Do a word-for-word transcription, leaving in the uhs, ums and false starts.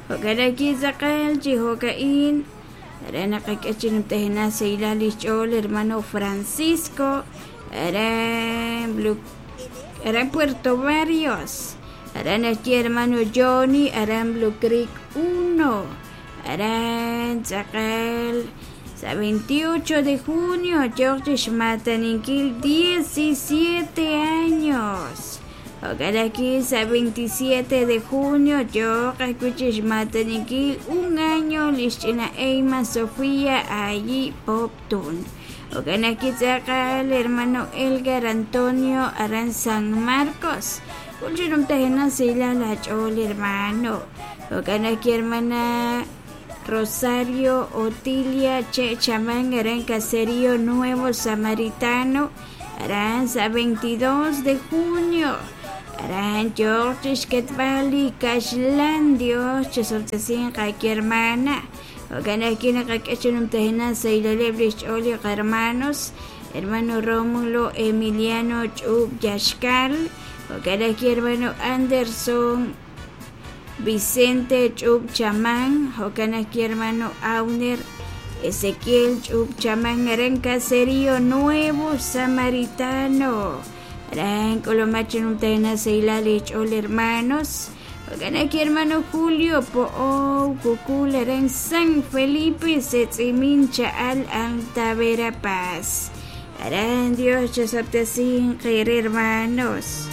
Jo'kan tz'aqal chi jo'ka'in aran naqak'e chi numtajenaq sahilal lix ch'ool hermano Francisco aran Blue aran Puerto Barrios aran axye hermano Johnny aran Blue Creek uno aran tz'aqal sa veintiocho de junio yoq chixmataninkil diecisiete años. Jo'kan aquí sa veintisiete de junio yoq ajwi' chixmataninkil un año lix ch'ina Eyma Sofía allí Poptún. Jo'kan aquí tz'aqal hermano Elgar Antonio aran San Marcos. Kul chi numtajenaq sahilal ach'ool hermano. Jo'kan aquí hermana Rosario Otilia Che Chamán aran Caserío Nuevo Samaritano aran sa veintidós de junio aran yoq chixketb'al li kaxlan Dios chesoltesin qaki hermana. Jo'kan aquí naqak'e chi numtajenaq sahilaleb' lix ch'ool li hermanos hermano Rómulo Emiliano Ch'ub Yaxkal. Jo'kan aquí hermano Anderson Vicente Ch'ub Chamán. Jo'kan aquí hermano Auner Ezequiel Ch'ub Chamán aran Caserío Nuevo Samaritano aran k'ulumaj chi numtajenaq sahilal lix ch'ool hermanos. Jo'kan aquí hermano Julio Po'ow Kukul aran San Felipe Setz'imin Cha'al Alta Verapaz aran Dios chosab'tesin qeere hermanos.